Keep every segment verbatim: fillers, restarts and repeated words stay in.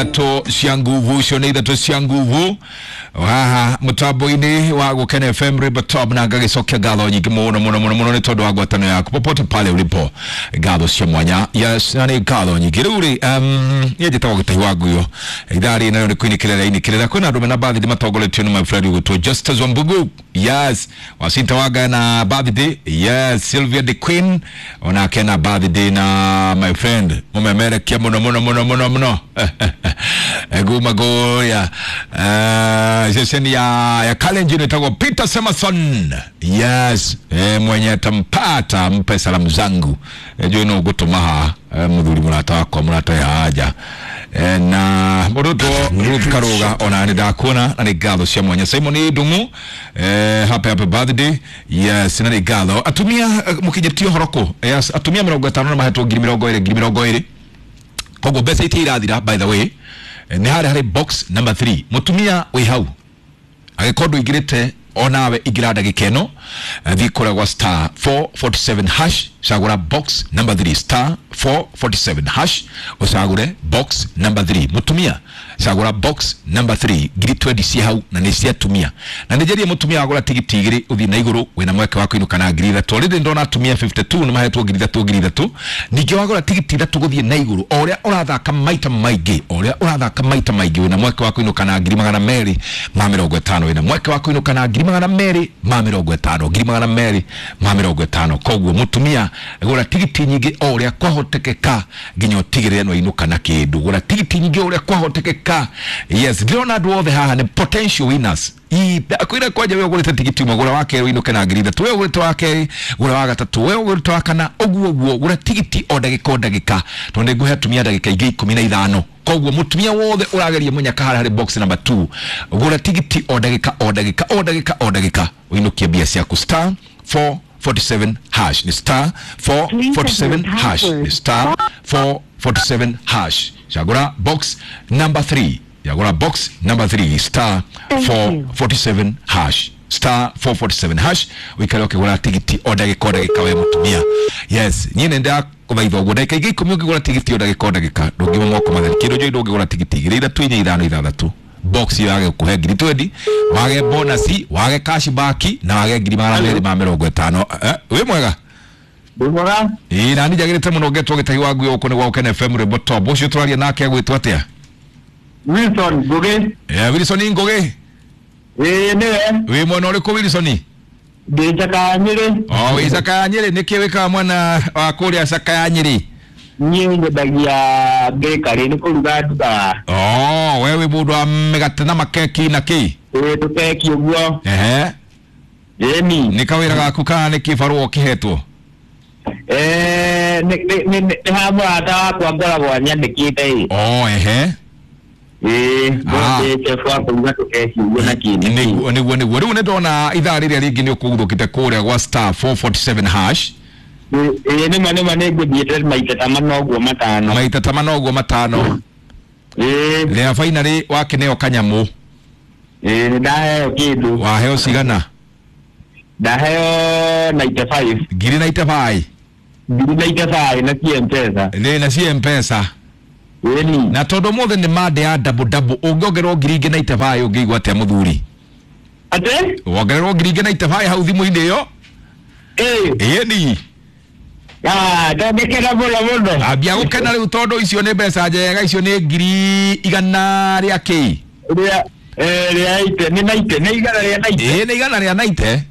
Ithatũ cia nguvu, icio nĩ ithatũ cia nguvu haha mũtambo-inĩ wa Gũkena F M River Top, na ngagĩcokia ngatho nyingĩ mũno mũno mũno mũno nĩ tondũ wa ngwatanĩro yaku popote pale ulipo, ngatho cia mwanya. Yes, na nĩ ngatho nyingĩ. Rĩu rĩ, um, niĩ njĩtagwo Gĩtahi wa Nguyo. Ithaa rĩ nayo nĩ kũinĩkĩrĩra inĩkĩrĩra. Kwĩna andũ mena birthday matongoretio nĩ my friend ũgwĩtwo Justus Wambugu, yes, Wacinta Wanga na birthday, yes, Sylvia the Queen onake na birthday, na my friend mũmemerekia mũno mũno mũno mũno mũno guma kũrĩa uh, ceceni ya, ya Kalenjin ĩtagwo Peter Semason, yes, eh, mwenye tampata mpe salamu zangu. eh, juu no gũtũma ha eh, mũthuri mũrata wakwa mũrata ya haja eh, na mũrutwo Ruth Karuga ona nĩ ndakuona na nĩ ngatho cia mwanya. Simon Ndung'u, eh, happy happy birthday, yes, na nĩ ngatho. Atumia, eh, mũkinyĩtie ũhoro kũ? Yes, atumia mĩrongo ĩtano na mahetwo ngiri mĩrongo ĩrĩ, ngiri mĩrongo ĩrĩ. Koguo mbeca itia irathira, by the way, eh, nĩ harĩa harĩ box number three. Mũtumia wĩ hau, agĩkorwo ndũingĩrĩte onawe ingĩra ndagĩka ĩno. eh, thiĩ kũrĩa gwa star four forty-seven hash, cagũra box number three, star four forty-seven hash, ũcagũre box number three. Mũtumia, cagũra box number three, ngiri twenty ci hau na nĩ cia atumia. Na nĩ njarie mũtumia wagũra tigiti igĩrĩ ũthiĩ na igũrũ wĩna mweke wa kũinũka na ngiri ithatũ. Already ndona atumia fifty-two nĩ mahetwo ngiri ithatũ, ngiri ithatũ. Ningĩ wagũra tigiti ithatũ gũthiĩ na igũrũ, o ũrĩa ũrathaka maita maingĩ, o ũrĩa ũrathaka maita maingĩ, wĩna mweke wa kũinũka na ngiri magana merĩ ma mĩrongo ĩtano. Wĩna mweke wa kũinũka na ngiri magana merĩ ma mĩrongo ĩtano, ngiri magana merĩ ma mĩrongo ĩtano. Koguo mũtumia, gũra tigiti nyingĩ o ũrĩa kwahotekeka nginya ũtigĩrĩre nĩ wainũka na kĩndũ. Gũra tigiti nyingĩ o ũrĩa kwahotekeka. Yes, ndĩrona andũ othe haha nĩ potential winners. Kwĩra kwanja we ũgũrĩte tigiti ũmwe, gũra wa kerĩ ũinũke na ngiri ithatũ. We ũgũrĩte wa kerĩ, gũra wa gatatũ. We ũgũrĩte wa kana, ũguo ũguo. Gũra tigiti o ndagĩka o ndagĩka, tondũ nĩ ngũhe atumia ndagĩka ingĩ ikũmi na ithano. Koguo mũtumia wothe ũrageria mũnyaka harĩa harĩ box number two, gũra tigiti o ndagĩka o ndagĩka o ndagĩka o ndagĩka, ũinũkie mbia ciaku. Star four forty-seven hash, ni star four forty-seven hash, ni star four forty-seven hash, chagura box number three, chagura box number three, star Thank you. four forty-seven hash, star four forty-seven hash, wikare ũkĩgũra tigiti o ndagĩka o ndagĩka we mũtumia. Yes, niĩ nĩ ndakũthaitha ũguo, ndagĩka ingĩ ikũmi ũngĩgũra tigiti o ndagĩka o ndagĩka, ndũngiuma moko matheri. Kĩndũ njũĩ, ndũngĩgũra tigiti igĩrĩ, ithatũ, inya, ithano, ithathatũ, box ĩyo yage gũkũhe ngiri twenty, wage bonus, wage cash back na wage ngiri magana merĩ ma mĩrongo ĩtano. Eh, wĩ mwega? Ndĩ mwega. Ĩĩ, nani njagĩrĩte mũno. Ngetwo Gĩtahi wa Nguo, gũkũ nĩ gwa Gũkena F M Rwĩmbo Top. Ũcio tũraria nake agwĩtwo atĩa? Wilson Ngugi. Eh, Wilson Ngũgĩ. Ĩĩ, nĩwe. Wĩ mwena ũrĩkũ, Wilson? Ndĩ Cakaya Nyĩrĩ. O wĩ Cakaya Nyĩrĩ. Nĩkĩ wĩkaga mwena wa kũrĩa Cakaya Nyĩrĩ? Niĩ nyendagia bakery, nĩ kũruga ndugaga. Oh, we wĩ mũndũ wa mĩgate na makeki na kĩ? Ĩĩ, tũkeki ũguo. Ehe. Ĩni. Nĩ kawĩra gaku kana nĩ kĩbarũa ũkĩhetwo? Eh, nĩ nĩ nĩ nĩ ha mũrata wakwa ngoragwo anyandĩkĩte ĩ. Oh, ehe. Ĩĩ, Ah. ndĩ chef wa kũruga tũkeki ũguo na kĩ na kĩ. Nĩguo nĩguo nĩguo. Rĩu nĩ ndona ithaa rĩrĩa rĩngĩ nĩ ũkũguthũkĩte kũrĩa gwa star four forty-seven hash. Ĩĩ, nĩma nĩma, nĩ ngũthiĩte maita ta mana ũguo, matano. Maita ta mana ũguo, matano. Ĩĩ. Rĩa finally wakĩneo kanyamũ. Ĩĩ, nĩ ndaheo kĩndũ. Waheo cigana? Ndaheo ninety-five. Ngiri ninety-five. Ngiri ninety-five na ci M-Pesa. Nĩ na ci M-Pesa. Ĩni. Na tondũ ũmũthĩ nĩ mande ya double double, ũngĩongererwo ngiri ingĩ ninety-five, ũngĩigua atĩa, mũthuri? Atĩ? Wongererwo ngiri ingĩ ninety-five hau thimũ-inĩ ĩyo. Ĩĩ. Ĩni. Ah, ndangĩkena mũno mũno. Ambia gũkena rĩu, tondũ icio nĩ mbeca njega, icio nĩ ngiri igana rĩa kĩ? Rĩa eh rĩa eighty, nĩ ninety, nĩ igana rĩa ninety. Ĩĩ, nĩ igana rĩa ninety.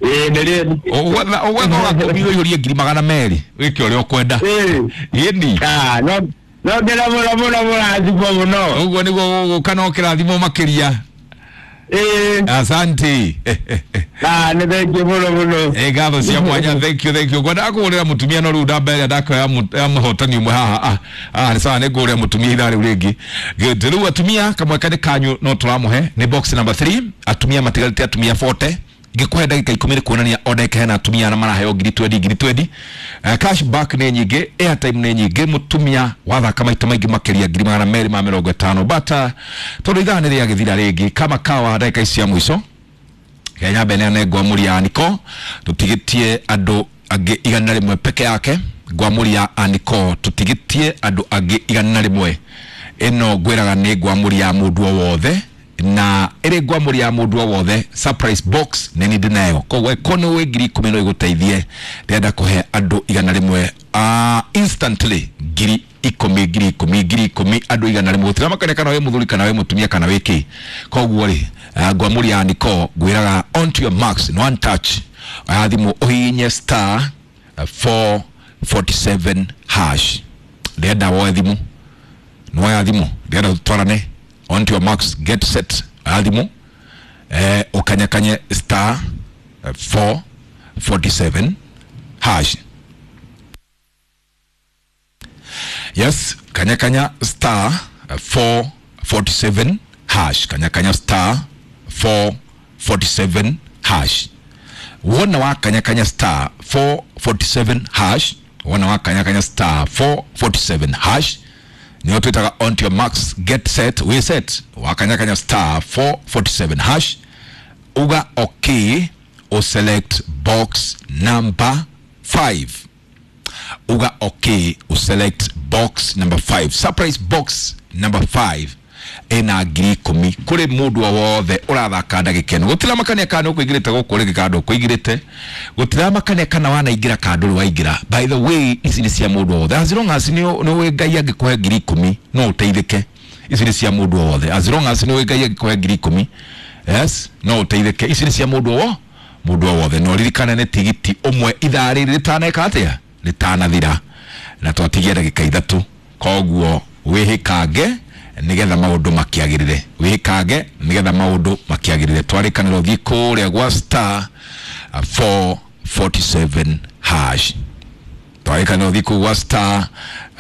Ĩĩ, nĩ rĩa. Ũgwetha ũgwetha ũgakũmi ũihũrie ngiri magana merĩ wĩke ũrĩa ũkwenda. Ĩĩ. Ĩni. Ah, no no ngena mũno mũno, mũrathimwo mũno. Ũguo nĩguo gũgũka no kĩrathimo makĩria. Ĩĩ. Asante. Ah, nĩ thengiũ mũno mũno. Ĩ, ngatho cia mwanya. Thank you, thank you. Ngwendaga kũgũrĩra mũtumia, no rĩu ndamba ĩrĩa ndakoya ya mũhotani ũmwe haha. Ah ah, nĩ sawa, nĩ ngũgũrĩra mũtumia ithaa rĩu rĩngĩ. Good. Rĩu atumia, kamweke nĩ kanyu no tũramũhe, nĩ box number three. Atumia matigarĩte atumia forty. Ngĩkũhe ndagĩka ikũmi nĩ kuonania o ndagĩka hena atumia arĩa maraheo ngiri twenty, ngiri twenty. Uh, cash back nĩ nyingĩ, airtime nĩ nyingĩ. Mũtumia wathaka maita maingĩ makĩria, ngiri magana merĩ ma mĩrongo ĩtano. But uh, tondũ ithaa nĩ rĩagĩthira rĩngĩ kama kawa, ndagĩka ici cia mũico Kenya mbere ngwamũri ya Aniko, tũtigĩtie andũ angĩ igana rĩmwe peke yake. Ngwamũri ya Aniko, tũtigĩtie andũ angĩ igana rĩmwe. Ĩno ngwĩraga nĩ ngwamũri ya mũndũ o wothe, na ĩrĩ ngwamũri ya mũndũ o wothe. Surprise box nĩ niĩ ndĩnayo, koguo ko nĩ wĩ ngiri ikũmi no igũteithie. Ndĩrenda kũhe andũ igana rĩmwe uh, instantly ngiri ikũmi, ngiri ikũmi, ngiri ikũmi, andũ igana rĩmwe, gũtiramakania kana wĩ mũthuri kana wĩ mũtumia kana wĩ kĩ. Koguo rĩ, uh, ngwamũri ya Nicole ngwĩraga on to your marks, no one touch, oya thimũ ũhihinye star four forty-seven hash. Ndĩrenda woe thimũ, nĩwoya thimũ, ndĩrenda tũtwarane. On to your marks, get set, oya thimũ, eh, ũkanyakanye star four forty-seven hash. Yes, kanyakanya star four forty-seven hash, kanyakanya star four forty-seven hash. Wona wa kanyakanya star four forty-seven hash, wona wa kanyakanya star four forty-seven hash, niyo twitaga on to your marks, get set, we set. Wakanyakanya star four forty-seven hash, uga okay, o select box number five. Uga okay, o select box number five. Surprise box number five ena ngiri ikũmi kũrĩ mũndũ o wothe ũrathaka ndagĩka ĩno. Gũtiramakania kana ũkũingĩrĩte gũkũ rĩngĩ kana ndũkũingĩrĩte, gũtiramakania kana wanaingĩra kana ndũrĩ waingĩra. By the way, ici nĩ cia mũndũ o wothe, as long as nĩ ũĩ Ngai angĩkũhe ngiri ikũmi no ũteithĩke. Ici nĩ cia mũndũ o wothe, as long as nĩ ũĩ Ngai angĩkũhe ngiri ikũmi, yes, no ũteithĩke. Ici nĩ cia mũndũ o mũndũ o wothe. No ririkane nĩ tigiti ũmwe ithaa rĩrĩ rĩtaneka atĩa, rĩtanathira, na twatigia ndagĩka ithatũ. Koguo wĩhĩkange nigetha maundu makiagirire, wikange nigetha maundu makiagirire. Twarikanira uthie kuria gwa star four forty-seven hash, twarikanira uthie kuu gwa star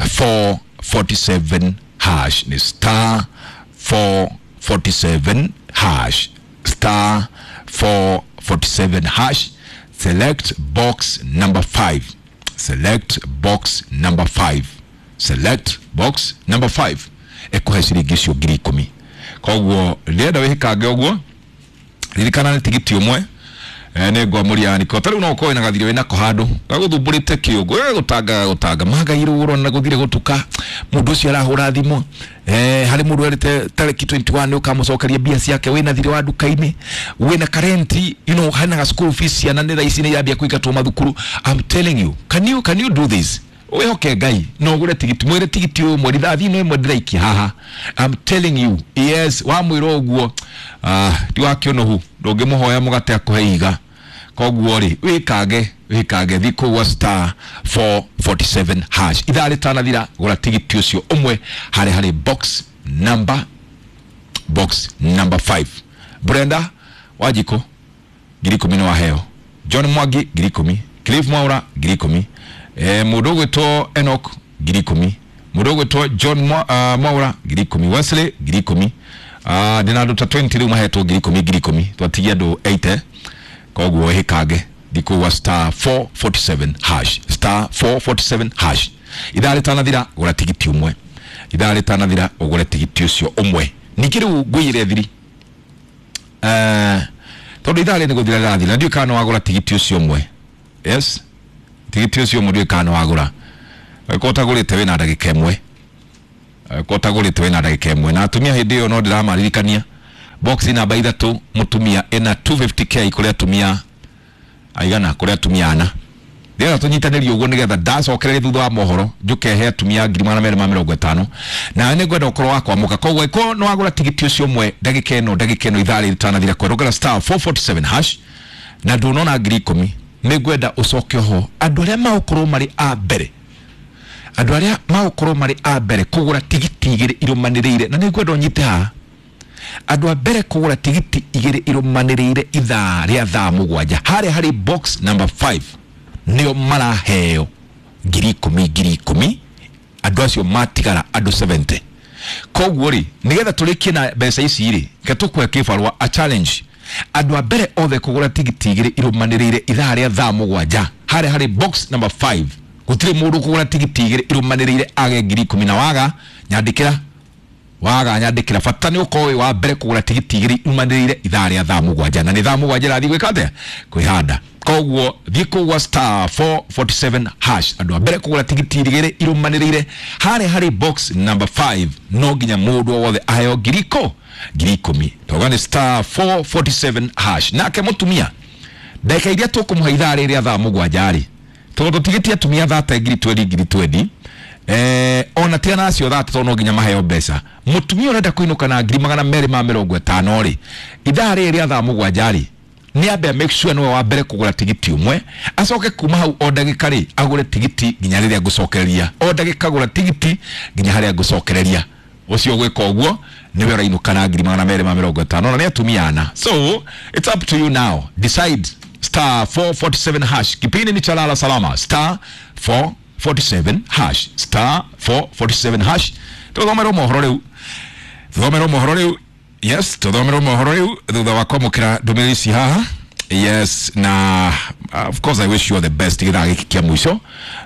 four forty-seven hash, ni star four forty-seven hash, star four forty-seven hash, select box number five, select box number five, select box number five, ekuhe ciringi icio ngiri ikũmi. Koguo rĩenda wĩhĩkange ũguo, ririkana nĩ tigiti ũmwe, nĩ ngwamũria ya Nicole. Ta rĩu no ũkorwo wĩna gathirĩ wĩnako handũ gagũthumbũrĩte kĩũngũ, gagũtanga gagũtanga magairwo ũrona gũthire gũtuka, mũndũ ũcio arahũra thimũ, eh, harĩ mũndũ erĩte tarĩki twenty-one ũkamũcokeria mbia ciake, wĩna thirĩ wa nduka-inĩ, wĩna karenti, you know, hena ga school fees, ciana nĩ thaa ici nĩ irambia kũingatwo mathukuru. I'm telling you, can you, can you do this? Wihoke Ngai no ũgũre tigiti, mwĩre tigiti ũyũ ũmwe, rithathi ĩno ĩmwe ndĩraikia haha. I'm telling you, yes, wamwĩra ũguo, ah, ti wa kĩũnũhu, ndũngĩmũhoya mũgate akũhe ihiga. Koguo rĩ, wĩkange, wĩkange, thiĩ kũu gwa star four forty-seven hash, ithaa rĩtanathira, gũra tigiti ũcio ũmwe harĩ harĩ box number, box number five. Brenda Wanjikũ ngiri ikũmi nĩ waheo, John Mwangi ngiri ikũmi, Cliff Mwaura ngiri ikũmi, eh, mũndũ ũgwĩtwo Enoch ngiri ikũmi, mũndũ ũgwĩtwo John Mwa, uh, Mwaura ngiri ikũmi, Wesley ngiri ikũmi, uh, ndĩna andũ ta twenty rĩu mahetwo ngiri ikũmi ngiri ikũmi, twatigia andũ eighty. Koguo wĩhĩkange thikũ gwa star four forty-seven hash, star four forty-seven hash, ithaa rĩtanathira gũra tigiti ũmwe, ithaa rĩtanathira ũgũre tigiti ũcio ũmwe. Ningĩ rĩu ngũiyĩre thiri, eh, tondũ ithaa rĩrĩ nĩ gũthira rĩrathira, ndiũĩ kana nĩwagũra tigiti ũcio ũmwe. Yes, tigiti ũcio ũmwe ndiũĩ kana nĩwagũra. Angĩkorwo ũtagũrĩte wĩna ndagĩka ĩmwe, angĩkorwo ũtagũrĩte wĩna ndagĩka ĩmwe. Na atumia hĩndĩ ĩyo no ndĩramaririkania, box namba ithatũ mũtumia ĩna two fifty k kũrĩ atumia aigana, kũrĩ atumia ana. Ndĩrenda tũnyitanĩrie ũguo nĩgetha ndacokereria thutha wa mohoro njũke he atumia ngiri magana merĩ ma mĩrongo ĩtano, nawe nĩngwenda ũkorwo wa kwamũka. Koguo angĩkorwo nĩwagũra tigiti ũcio ũmwe ndagĩka ĩno, ndagĩka ĩno ithaa rĩrĩ rĩtanathira, kwerũngera star four forty-seven hash na ndũnona ngiri ikũmi, nĩngwenda ũcoke oho andũ arĩa magũkorwo marĩ a mbere, andũ arĩa magũkorwo marĩ a mbere kũgũra tigiti igĩrĩ irũmanĩrĩire, na nĩngwenda ũnyite haha, andũ a mbere kũgũra tigiti igĩrĩ irũmanĩrĩire ithaa rĩa thaa mũgwanja harĩa harĩ box number five nĩo maraheo ngiri ikũmi ngiri ikũmi, andũ acio matigara andũ seventy. Koguo rĩ, nĩgetha tũrĩkie na mbeca ici rĩ, reke tũkũhe kĩbarũa a challenge. Andũ a mbere othe kũgũra tigiti igĩrĩ irũmanĩrĩire ithaa rĩa thaa mũgwanja harĩa harĩ box number five, gũtirĩ mũndũ kũgũra tigiti igĩrĩ irũmanĩrĩire age ngiri ikũmi. Na waga nyandĩkĩra, waga nyandĩkĩra, bata nĩ ũkorwo wĩ wa mbere kũgũra tigiti igĩrĩ irũmanĩrĩire ithaa rĩa thaa mũgwanja, na nĩ thaa mũgwanja ĩrathiĩ gwĩka atĩa, kwĩhanda. Koguo thiĩ kũgwa star four forty-seven hash. Andũ a mbere kũgũra tigiti igĩrĩ irũmanĩrĩire harĩa harĩ box number five, no nginya mũndũ o wothe aheo ngiri ikũ ngiri ikũmi. Toga nĩ star four forty-seven hash. Nake mũtumia ndagĩka iria tũkũmũhe ithaa rĩrĩa thaa mũgwanja rĩ, tondũ tũtigĩtie atumia thate ngiri twendi ngiri twendi, eh, ona tiga nacio thate tondũ no nginya maheo mbeca. Mũtumia ũrenda kũinũka na ngiri magana merĩ ma mĩrongo ĩtano rĩ, ithaa rĩrĩ rĩa thaa mũgwanja rĩ, nĩ ambe make sure nĩwe wa mbere kũgũra tigiti ũmwe, acoke kuma hau o ndagĩka rĩ agũre tigiti nginya rĩrĩa ngũcokereria, o ndagĩka gũra tigiti nginya harĩa ngũcokereria. Ũcio gwĩka ũguo nĩwe ũrainũka na ngiri magana merĩ ma mĩrongo ĩtano, na nĩ atumia ana. So it's up to you now, decide. Star four forty-seven hash. Kipindi ni cha Lala Salama. Star four forty-seven hash. Star four forty-seven hash. Tuthomerwo mohoro rĩu, tuthomerwo mohoro rĩu. Yes, tuthomerwo mohoro rĩu thutha wa kwamũkĩra ndũmĩrĩri ici haha. Yes, na uh, of course I wish you all the best githaa gĩkĩ kĩa mũico.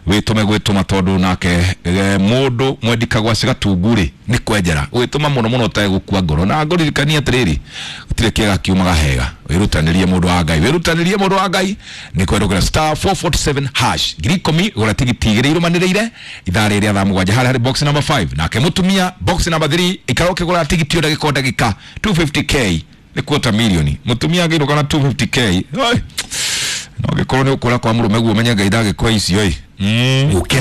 Wĩtũme gwĩtũma tondũ nake eh, mũndũ mwendikagwa cigatungu rĩ nĩ kwenjera. Wĩtũma mũno mũno ũtegũkua ngoro. Na ngũririkanie atĩrĩrĩ, gũtirĩ kĩega kiumaga hega. Wĩrutanĩrie mũndũ wa Ngai, wĩrutanĩrie mũndũ wa Ngai nĩ kwendũkĩra star four forty-seven hash. Ngiri ikũmi gũra tigiti igĩrĩ irũmanĩrĩire ithaa rĩrĩa thaa mũgwanja harĩa harĩ box number five. Nake mũtumia box number three ikara ũkĩgũra tigiti o ndagĩka o ndagĩka two fifty k nĩ quarter million. Mũtumia angĩinũka na two fifty k, oi, no gĩkorwo nĩ ũkũra kwa mũrũme guo ũmenye Ngai ndagĩkũhe icio ĩ. Mm. Gũkena